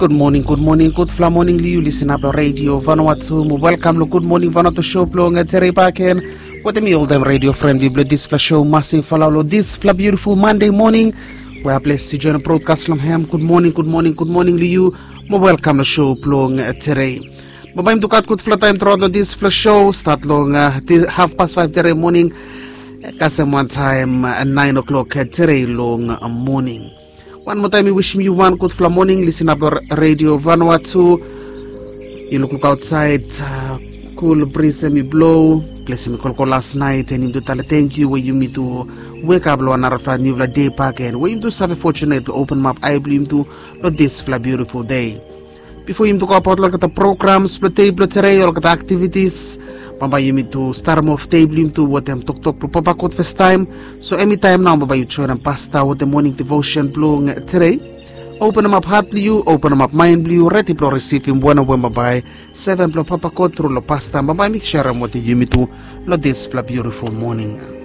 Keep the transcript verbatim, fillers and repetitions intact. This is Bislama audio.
Gud moning, gud moning, gudfala moning long yu lisin ap long redio Vanuatu. Mo welkam long Gud Moning Vanuatu show blong tere baken. Wetem mi oltaem redio fren blong disfala show, Masi Falau, long disfala biutiful Mande moning we a bles i join brodkas long hem. Gud moning, gud moning, gud moning long yu. Mo welkam long show blong tere. Bambae yumi tu gat gudfala taem truaot long disfala show, stat long hafpas faef tere moning kasem wantaem naen oklok tere long moning. Wan moa taem mi wisim yu wan gudfala moning. Lisin ap long redio Vanuatu. Yu lukluk aotsaed, kul bris em i blo. Ples em i kolkol las naet, en yumi tu tale tangkiu we yumi tu wekap long wan narafala niufala dei baken, we yumi tu save fotunet blong openem ap ae blong yumi tu long disfala biutiful dei. Bifo yumi tu go abaot long olgeta programs blong dei blong tere, olgeta aktivitis, bambae yumi tu starem of dei blong yumi tu wetem toktok blong Papa God fastaem. So emi taem nao bambae yu joenem pasta wetem moning devosen blong tere. Openem ap hat blong yu, openem ap maen blong yu, redi blong risivim wanem we bambae seven blong Papa God tru long pasta bambae mi serem wetem yumi tu long disfala biutiful moning.